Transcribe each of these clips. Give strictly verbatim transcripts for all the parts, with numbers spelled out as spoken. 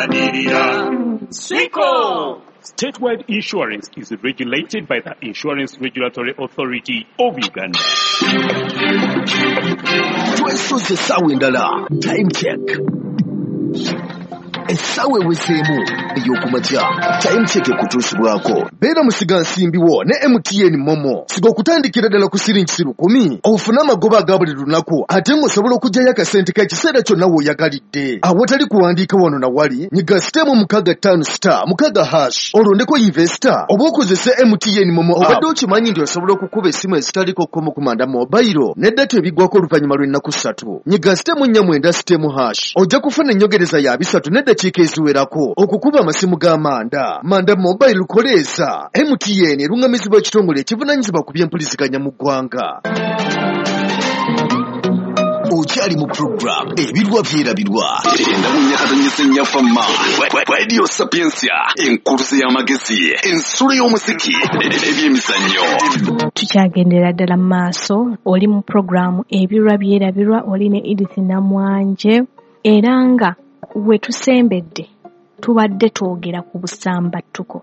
Tulwanirira Siko. Statewide insurance is regulated by the Insurance Regulatory Authority of Uganda. Twesoze essaawa endala, Time Check. Essaawa ewezeemu ey'okumakya, Time Check ekutuusibwako. Beera musigansimbi wo ne M T N MoMo. Siga okutandikira ddala ku siringi lukumi ofune amagoba aga buli lunaku, ate ng'osobola okuggyayo akasente k'ekiseera kyonna w'oyagalidde awatali kuwandiika wano na wali. Nyiga star emu mukaaga ttaano star mukaaga hash, olondeko investor oba okozese M T N MoMo. Obadde okimanyi nti osobola okukuba essimu ezitaliko kkomo ku Manda Mobile ne data ebiggwako oluvannyuma lw'ennaku ssatu? Nyiga star emu nnya mwenda star emu hash, ojja kufuna ennyongereza ya bisatu n'eddakiika eziwerako okukuba amasimu ga Manda. Manda Mobile, koleeza. M T N eruŋŋamizibwa ekitongole ekivunaanyizibwa ku byempuliziganya mu ggwanga. Okyali mu program Ebirwa Byerabirwa, endamunyakatonyesa ennyafama, Radio Sapiensia, enkuluze y'amagezi, ensulo y'omuziki, ebyemizannyo. Tukyagendera ddala mu maaso. Oli mu puroguramu Ebirwa Byerabirwa, oli ne Edith Namwanje, era nga we tusembedde tubadde twogera ku busambattuko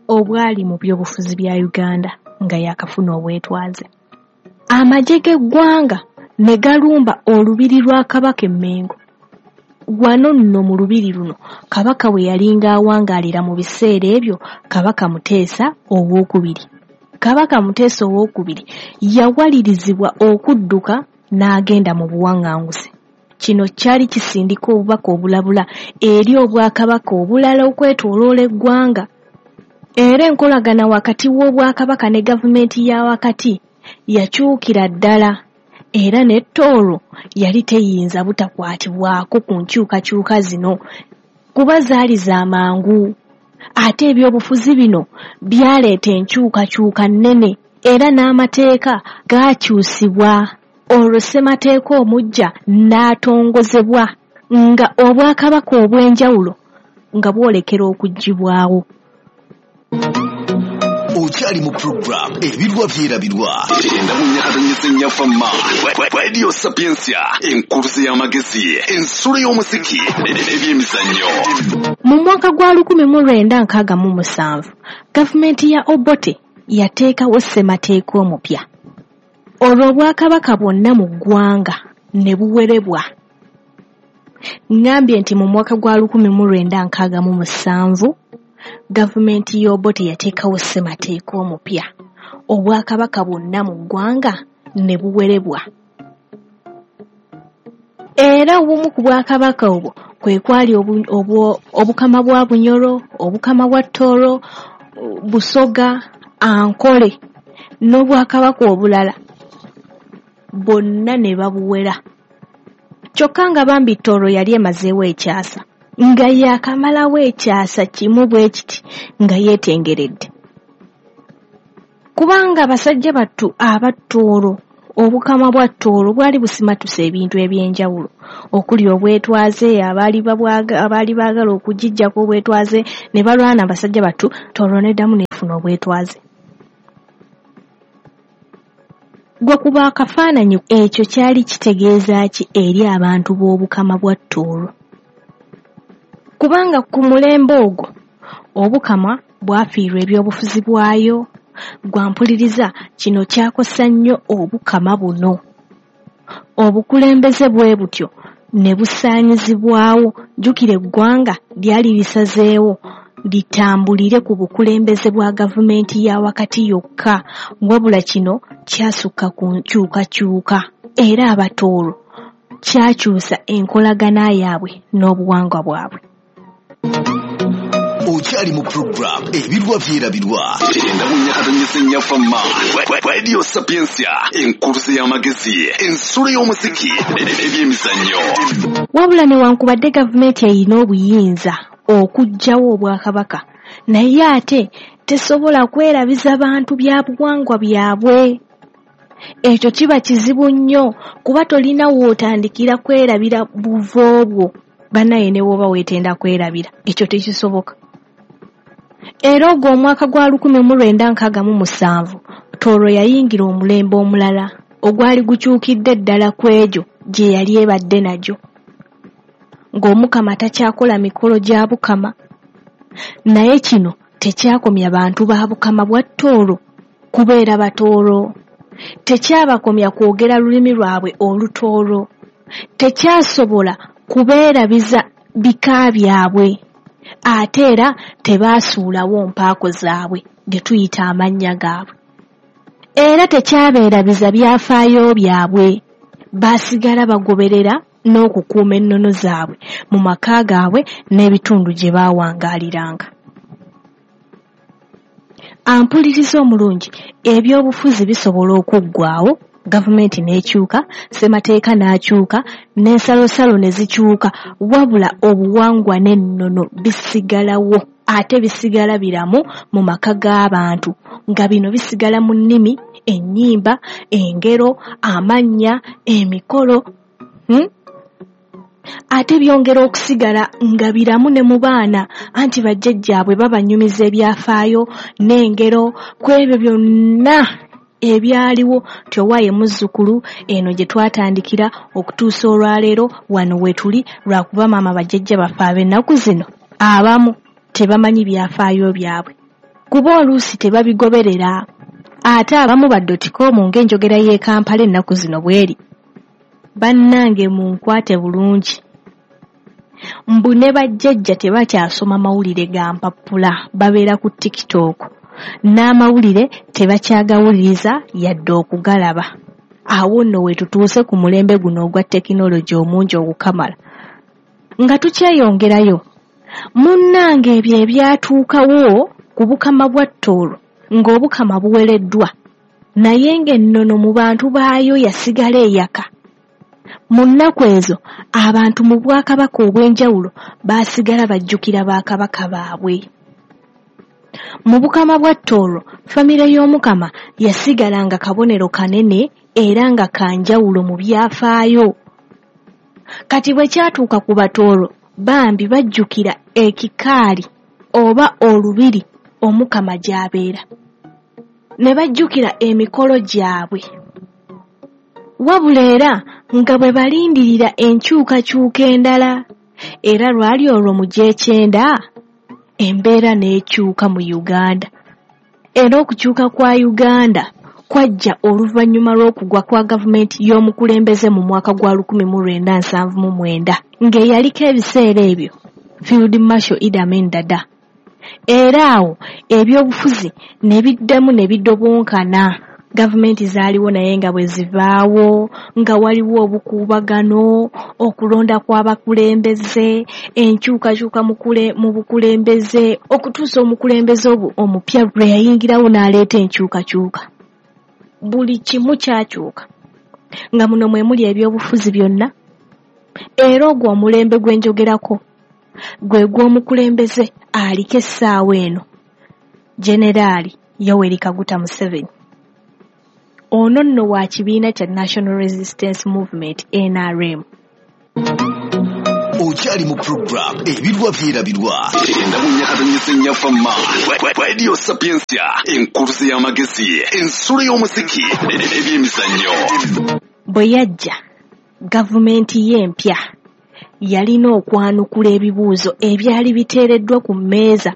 obwali mu byobufuzi bya Uganda nga yakafuna obwetwaze. Amagye g'eggwanga ne galumba olubiri lwa Kabaka e Mmengo. Wano nno mu lubiri luno Kabaka we yalinga awangaalira mu biseera ebyo, Kabaka Muteesa Owookubiri. Kabaka Muteesa Owookubiri yawalirizibwa okudduka n'agenda mu buwaŋŋanguse. Kino kyali kisindika obubaka obulabula eri obwakabaka obulala okwetooloola eggwanga, era enkolagana wakati w'obwakabaka ne gavumenti ya wakati yakyukira ddala, era ne Tooro yali teyinza butakwatibwako ku nkyukakyuka zino kuba zaali za mangu, ate ebyobufuzi bino byaleeta enkyukakyuka nnene, era n'amateeka gaakyusibwa. Olwo ssemateeka omuggya n'atongozebwa nga obwakabaka obw'enjawulo nga bwolekera okuggyibwawo. Okyali mu program Ebirwa Byerabirwa, endamunyakatonyesa ennyafama, Radio Sapiensia, enkuluze y'amagezi, ensulo y'omuziki, ebyemizannyo. Mu mwaka gwa lukumi mu lwenda nkaaga mu musanvu gavumenti ya Obote yateekawo ssemateeka omupya, olwo obwakabaka bwonna mu ggwanga ne buwerebwa. Ŋŋambye nti mu mwaka gwa lukumi mu lwenda nkaaga mu musanvu gavumenti y'Obote yateekawo ssemateeka omupya, obwakabaka bwonna mu ggwanga ne buwerebwa, era obumu ku bwakabaka obwo kwe kwali obukama bwa Bunyoro, obukama bwa Tooro, Busoga, Ankole n'obwakabaka obulala, bonna ne babuwera. Kyokka nga bambi Tooro yali emazeewo ekyasa, nga yakamalawo ekyasa kimu bwe kiti nga yeetengeredde, kubanga abasajja battu aba Tooro, obukama bwa Tooro bwali busimatuse ebintu ebyenjawulo okuli obwetwaze. Abaali abaali baagala okugijjako obwetwaze ne balwana. Abasajja battu Tooro neddamu nefuna obwetwaze. Gwe kuba akafaananyi, ekyo kyali kitegeeza ki eri abantu b'obukama bwa Tooro? Kubanga ku mulembe ogwo obukama bwafiirwa ebyobufuzi bwayo. Gwampuliriza, kino kyakosa nnyo obukama buno. Obukulembeze bwe butyo ne busaanyizibwawo. Jjukira eggwanga lyali lisazeewo litambulire ku bukulembeze bwa gavumenti ya wakati yokka, wabula kino kyasukka ku nkyukakyuka, era Abatooro kyakyusa enkolagana yaabwe n'obuwangwa bwabwe. Okyali mu program Ebirwa Byerabirwa, endamunyakatonyesa ennyafama, Radio Sapiensia, enkuluze y'amagezi, ensulo y'omuziki, ebyemizannyo. Wabula newankubadde gavumenti erina obuyinza okuggyawo obwakabaka, naye ate tesobola kwerabiza bantu bya buwangwa byabwe. Ekyo kiba kizibu nnyo kuba tolina w'otandikira kwerabira buvo bwo. Bannaye, ne bw'oba weetenda kwerabira, ekyo tekisoboka. Era ogwo omwaka gwa lukumi mu lwenda nkaaga mu musanvu Tooro yayingira omulembe omulala ogwali gukyukidde ddala ku egyo gye yali ebadde nagyo. ng'Omukama takyakola mikolo gya Bukama. Naye kino tekyakomya bantu ba Bukama bwa Tooro kubeera Batooro, tekyabakomya kwogera lulimi lwabwe Olutooro, tekyasobola kubeerabiza bika byabwe, ate era tebaasuulawo mpaako zaabwe ge tuyita amannya gaabwe. Era tekyabeerabiza byafaayo byabwe, baasigala bagoberera n'okukuuma ennono zaabwe mu maka gaabwe n'ebitundu gye baawangaaliranga. Ampuliriza omulungi, ebyobufuzi bisobola okuggwaawo, gavumenti n'ekyuka, ssemateeka n'akyuka, n'ensalosalo ne zikyuka, wabula obuwangwa n'ennono bisigalawo, ate bisigala biramu mu maka g'abantu, nga bino bisigala mu nnimi, ennyimba, engero, amannya, emikolo, hmm? Ate byongera okusigala nga biramu ne mu baana, anti bajjajjaabwe babanyumiza ebyafaayo n'engero ku ebyo byonna ebyaliwo nti owaaye muzzukulu eno gye twatandikira okutuusa olwaleero wano we tuli, lwakuba maama bajjajja baffe ab'ennaku zino abamu tebamanyi byafaayo byabwe, kuba oluusi tebabigoberera, ate abamu ba dotcom ng'enjogera y'e Kampala ennaku zino bw'eri. Bannange munkwate bulungi, mbu ne bajjajja tebakyasoma mawulire ga mpapula, babeera ku TikTok, n'amawulire tebakyagawuliriza yadde okugalaba. Awo nno we tutuuse ku mulembe guno ogwa tekinologi omungi ogukamala. Nga tukyeyongerayo, munnange ebyo ebyatuukawo ku Bukama bwa Tooro ng'Obukama buwereddwa, naye ng'ennono mu bantu baayo yasigala eyaka. Mu nnaku ezo abantu mu bwakabaka obw'enjawulo baasigala bajjukira bakabaka baabwe. Mu Bukama bwa Tooro, famire y'Omukama yasigala nga kabonero kanene era nga kanjawulo mu byafaayo. Kati bwe kyatuuka ku Batooro, bambi bajjukira ekikaali oba olubiri Omukama gy'abeera, ne bajjukira emikolo gyabwe. Wabula era nga bwe balindirira enkyukakyuka endala, era lwali olwo mu gy'ekyenda embeera n'ekyuka mu Uganda. Era okukyuka kwa Uganda kwajja oluvannyuma lw'okugwa kwa gavumenti y'omukulembeze mu mwaka gwa lukumi mu lwenda nsanvu mu mwenda, ng'eyaliko ebiseera ebyo Field Marshal Idi Amin Dada. Era awo ebyobufuzi ne biddamu ne bidobonkana. Gavumenti zaaliwo naye nga bwe zivaawo, nga waliwo obukuubagano, okulonda kw'abakulembeze, enkyukakyuka mu bukulembeze, okutuusa omukulembeze omupya lwe yayingirawo n'aleeta enkyukakyuka. Buli kimu kyakyuka, nga muno mwe muli ebyobufuzi byonna. Era ogwo omulembe gwe njogerako gwe gw'omukulembeze aliko essaawa eno, Generaali Yoweri Kaguta Museveni. Ono nno wa kibiina kya National Resistance Movement N R M. Okyali mu program Ebirwa Byerabirwa. Enda mu Nyakatonyese Nnyafama. Radio Sapientia, enkuluze y'amagezi, ensulo y'omuziki, ebyemizannyo. Bwe yajja, gavumenti ye empya yalina okwanukula ebibuuzo ebyali biteereddwa ku mmeeza,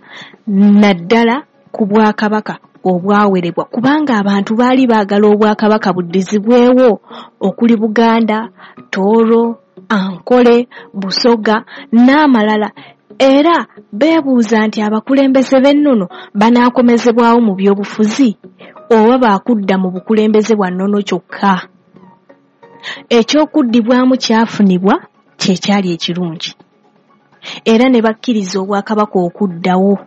naddala ku bwakabaka obwawerebwa, kubanga abantu baali baagala obwakabaka buddizibwewo okuli Buganda, Tooro, Ankole, Busoga n'amalala. Era beebuuza nti abakulembeze b'ennono banaakomezebwawo mu byobufuzi oba baakudda mu bukulembeze bwa nnono kyokka. Ekyokuddibwamu kyafunibwa kye kyali ekirungi, era ne bakkiriza obwakabaka okuddawo.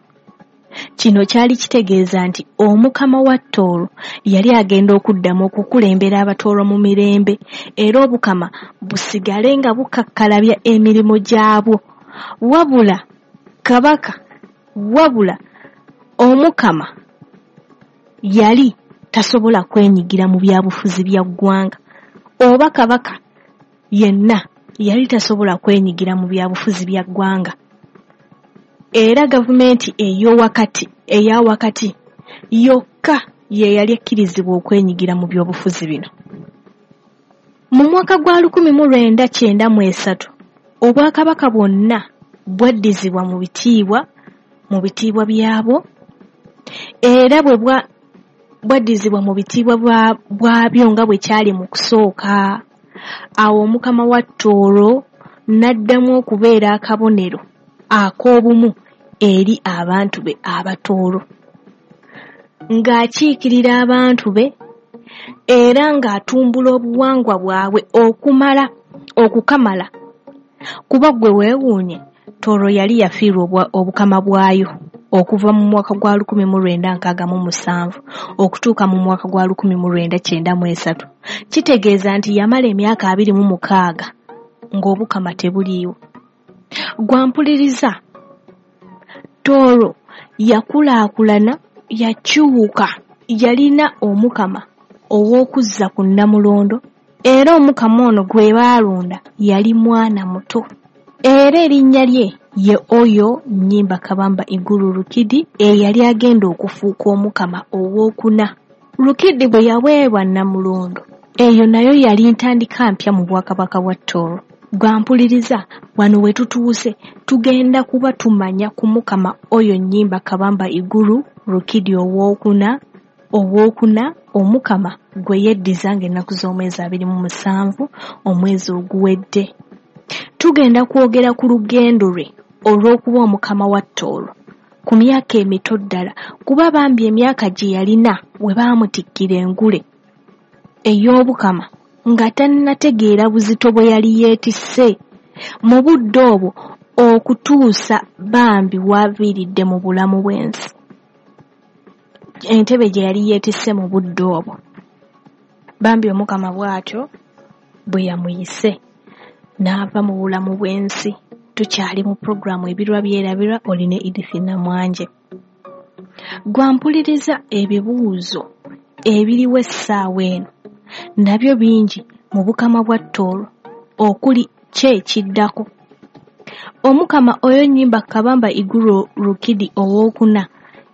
Kino kyali kitegeeza nti Omukama wa Tooro yali agenda okuddamu okukulembera Abatooro mu mirembe, era Obukama busigale nga bukakkalabya emirimu gyabwo. Wabula kabaka, wabula Omukama yali tasobola kwenyigira mu byabufuzi bya ggwanga, oba kabaka yenna yali tasobola kwenyigira mu byabufuzi bya ggwanga. Era gavumenti ey'owakati eya wakati yokka ye yali ekkirizibwa okwenyigira mu byobufuzi bino. Mu mwaka gwa lukumi mu lwenda kyenda mu esatu, Obwakabaka bwonna bwaddizibwa mu bitiibwa mu bitiibwa byabwo, era bwe bwaddizibwa mu bitiibwa bwabyo nga bwe kyali mu kusooka. Awo Omukama wa Tooro n'addamu okubeera akabonero ak'obumu eri abantu be Abatooro, ng'akiikirira abantu be era ng'atumbula obuwangwa bwabwe okumala okukamala. Kuba ggwe weewuunye, Tooro yali yafiirwa obukama bwayo okuva mu mwaka gwa lukumi mu lwenda nkaaga mu musanvu okutuuka mu mwaka gwa lukumi mu lwenda kyenda mu esatu. Kitegeeza nti yamala emyaka abiri mu mukaaga ng'obukama tebuliiwo. Gwampuliriza, Tooro yakulaakulana, yakyuka, yalina omukama ow'okuzza ku Nnamulondo, era omukama ono gwe baalonda yali mwana muto, era erinnya lye ye Oyo Nnyimba Kabamba Iguru Rukidi, eyali agenda okufuuka omukama owookuna. Rukidi bwe yaweebwa Nnamulondo, eyo nayo yali ntandika mpya mu bwakabaka bwa Tooro. Gwampuliriza, wano we tutuuse tugenda kuba tumanya ku mukama Oyo Nnyimba Kabamba Iguru Rukidi owookuna owookuna omukama gwe yeddiza ng'ennaku z'omwezi abiri mu musanvu omwezi oguwedde. Tugenda kwogera ku lugendo lwe olw'okuba omukama wa Tooro ku myaka emito ddala, kuba bambi emyaka gye yalina we baamutikkira engule ey'obukama nga tannategeera buzito bwe yali yeetisse mu budde obwo okutuusa bambi w'aviiridde mu bulamu bw'ensi. Entebe gye yali yeetisse mu budde obwo, bambi omukama bw'atyo bwe yamuyise n'ava mu bulamu bw'ensi. Tukyali mu puroguramu Ebirwa Byerabirwa, oli ne Edith Namwanje. Gwampuliriza, ebibuuzo ebiriwo essaawa eno nabyo bingi mu bukama bwa Tooro, okuli ki ekiddako. Omukama Oyo Nnyimba Kabamba Iguru Rukidi owookuna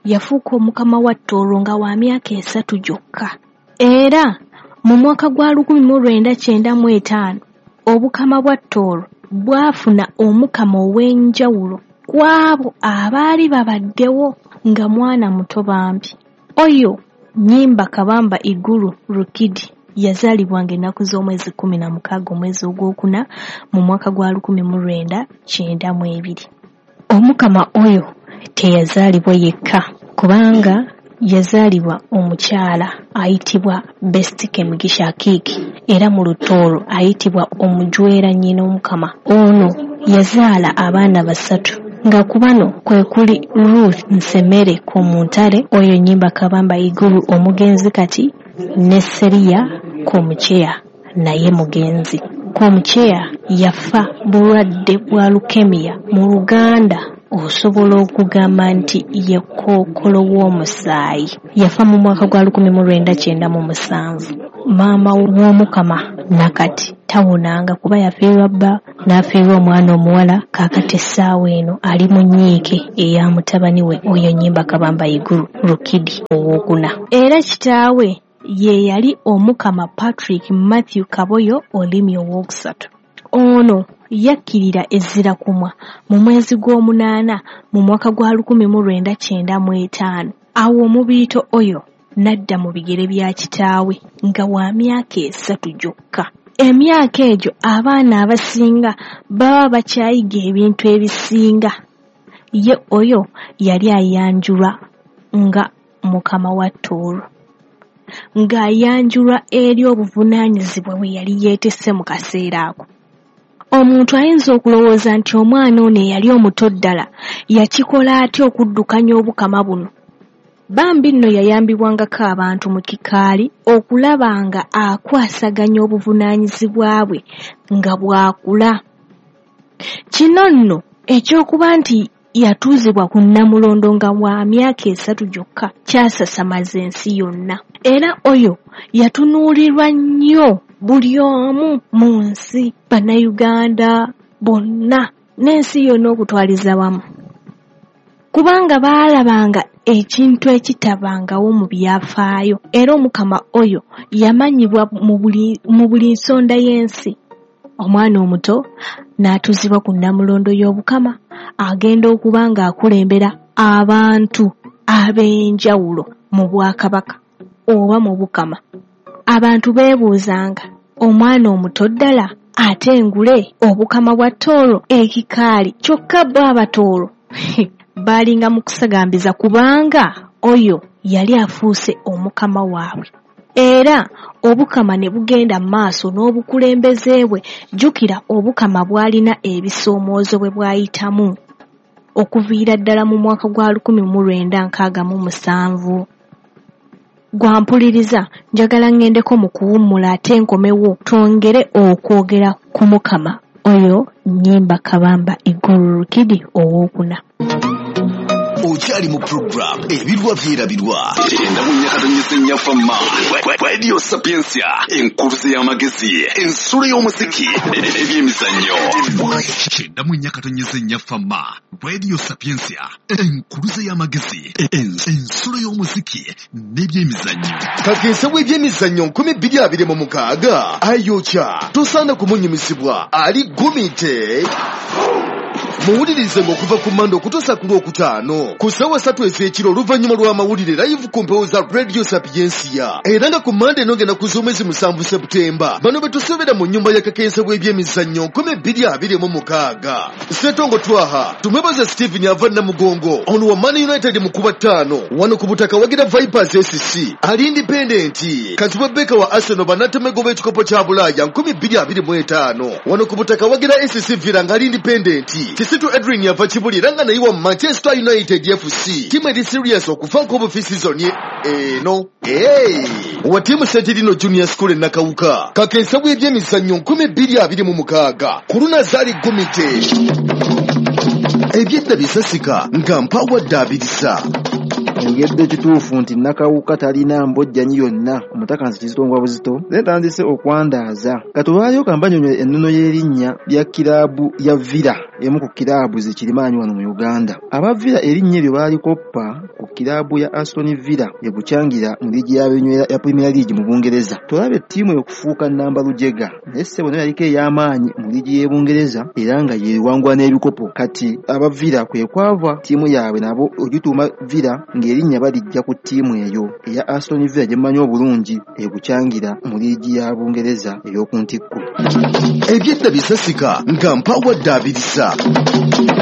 yafuuka omukama wa Tooro nga wa myaka esatu gyokka, era mu mwaka gwa lukumi mu lwenda kyenda mu etaano obukama bwa Tooro bwafuna omukama ow'enjawulo ku abo abaali babaddewo nga mwana muto bambi. Oyo Nnyimba Kabamba Iguru Rukidi yazaalibwa ng'ennaku z'omwezi kkumi na mukaaga omwezi ogwokuna mu mwaka gwa lukumi mu lwenda kyenda mu ebiri. Omukama oyo teyazaalibwa yekka, kubanga yazaalibwa omukyala ayitibwa Besitike Mugisha Akiiki, era mu Lutooro ayitibwa omujwera nnyina omukama. Ono yazaala abaana basatu, nga ku bano kwe kuli Ruth Nsemere Komuntale, Oyo Nnyimba Kabamba Iguru omugenzi kati, ne Seriya Komucheya naye mugenzi. Komucheya yafa bulwadde bwa leukemia. Mu Luganda osobola okugamba nti ye kookolo w'omusaayi. Yafa mu mwaka gwa lukumi mu lwenda kyenda mu musanvu. Maama w'omukama nakati tawonanga kuba yafiirwa bba n'afiirwa omwana omuwala. Kaakati essaawa eno ali mu nnyiike eya mutabani we Oyo Nnyimba Kabamba Iguru Rukidi owookuna. Era kitaawe ye yali omukama Patrick Matthew Kaboyo Olimi owookusatu. Ono yakkirira ezzira kumwa mu mwezi gw'omunaana mu mwaka gwa lukumi mu lwenda kyenda mu etaano. Awo omubiito oyo n'adda mu bigere bya kitaawe nga wa myaka esatu gyokka. Emyaka egyo abaana abasinga baba bakyayiga ebintu ebisinga. Ye oyo yali ayanjulwa nga mukama wa Tooro, ng'ayanjulwa eri obuvunaanyizibwa bwe yali yeetisse mu kaseera ako. Omuntu ayinza okulowooza nti omwana ono eyali omuto ddala yakikola atya okuddukanya obukama buno. Bambi nno yayambibwangako abantu mu kikaali okulaba nga akwasaganya obuvunaanyizibwa bwe nga bw'akula. Kino nno ekyokuba nti yatuuzibwa ku Nnamulondo nga wa myaka esatu gyokka kyasasamaza ensi yonna. Era oyo yatunuulirwa nnyo buli omu mu nsi, Bannayuganda bonna n'ensi yonna okutwaliza wamu, kubanga baalabanga ekintu ekitabangawo mu byafaayo. Era omukama oyo yamanyibwa mu buli mu buli nsonda y'ensi. Omwana omuto n'atuuzibwa ku nnamulondo y'Obukama, agenda okuba ng'akulembera abantu ab'enjawulo mu bwakabaka oba mu bukama. Abantu beebuuzanga, omwana omuto ddala ate engule obukama bwa Tooro ekikaali, kyokka bo Abatooro baalinga mu kusagambiza kubanga oyo yali afuuse omukama waabwe. Era obukama ne bugenda mu maaso n'obukulembeze bwe. Jjukira obukama bwalina ebisoomoozo bwe bwayitamu okuviira ddala mu mwaka gwa lukumi mu lwenda nkaaga mu musanvu. Gwampuliriza, njagala ŋŋendeko mu kuwummula ate nkomewo twongere okwogera ku Mukama oyo Nnyimba Kabamba Iguru Rukidi owookuna. Okyali mu program Ebirwa Byerabirwa. Enda mu Nyakatonyese Nnyafama. Radio Sapientia, enkuluze y'amagezi, ensulo y'omuziki, ebyemizannyo. Kyenda mu Nyakatonyese Nnyafama. Radio Sapientia, enkuluze y'amagezi, ensulo y'omuziki n'ebyemizannyo. Kakensa w'ebyemizannyo nkumi bbiri abiri mu mukaaga ayokya tosaana kumunyumisibwa ali gumite. Muwulirize ng'okuva ku Mmande okutuusa ku Lwokutaano ku ssaawa ssatu ez'ekiro oluvannyuma lw'amawulire live ku mpewo za Radio Sapientia. Era nga ku Mmande eno ngenda ku z'omwezi musanvu Seputemba, bano be tusuubira mu nnyumba ya Kakensa w'ebyemizannyo nkumi bbiri abiri mu mukaaga. Ssetongo Twaha, tumwebaze Stephen ava Namugongo, ono wa Man United mu kuba ttaano, wano ku butaka wagira Vipers S C, ali independent, Kazibwe Beka wa Arsenal bannatemego b'ekikopo kya Bulaaya nkumi bbiri abiri mu etaano, wano ku butaka wagira S C Villa nga ali independent, Kisitu Edwin yava Kibuli era nga naye wa Manchester United F C, ttiimu eri serious okuvaako obufi season eno. Hey! Wa ttiimu Ssetirino Junior School e Nakawuka, Kakensa w'ebyemizannyo nkumi bbiri abiri mu mukaaga, ku Lunazaali Gumite. Ebyedda bisasika nga mpawadde abirisa. Oyogedde kituufu nti Nakawuka talina mbojjanyi yonna, omutaka nsi kizito buzito, naye ntandise okwandaaza. Katulwayo kambanyonyo ennono y'erinnya lya kiraabu ya Villa, emu ku kiraabu zikirimaanyi wano mu Uganda. Aba Villa erinnya eryo baalikoppa ku kiraabu ya Aston Villa ebukyangira mu liigi y'abenywera ya Premier League mu Bungereza. Tolaba ettiimu okufuuka nnamba lujega, naye ssebo nayo yaliko ey'amaanyi mu liigi y'e Bungereza era nga yeewangula n'ebikopo. Kati aba Villa kwe kwava ttiimu yaabwe nabo ogituuma Villa ng'erinnya balijja ku ttiimu eyo eya Aston Villa gye mmanyi obulungi ebukyangira mu liigi ya Bungereza ey'oku ntikko. Ebyedda bisasika nga mpawadde abirisa.